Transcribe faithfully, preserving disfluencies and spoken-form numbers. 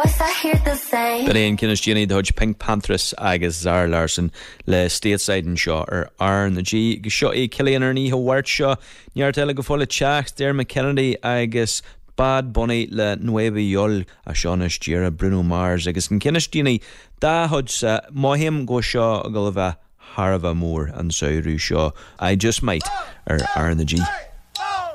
voice I hear the same. B'in é an ceann is déanaí de chuid PinkPantheress agus Zara Larsson le Stateside anseo ar R na G go seo é Cillian ar an oíche Mháirt seo neart eile go fóill le teacht Dermot Kennedy agus Bad Bunny le Nuevayol a seonis díre Bruno Mars agus an ceann is déanaí dá chuid sa mothaím go seo go bheith thar a bheith mór an samhradh seo I Just Might ar R na G.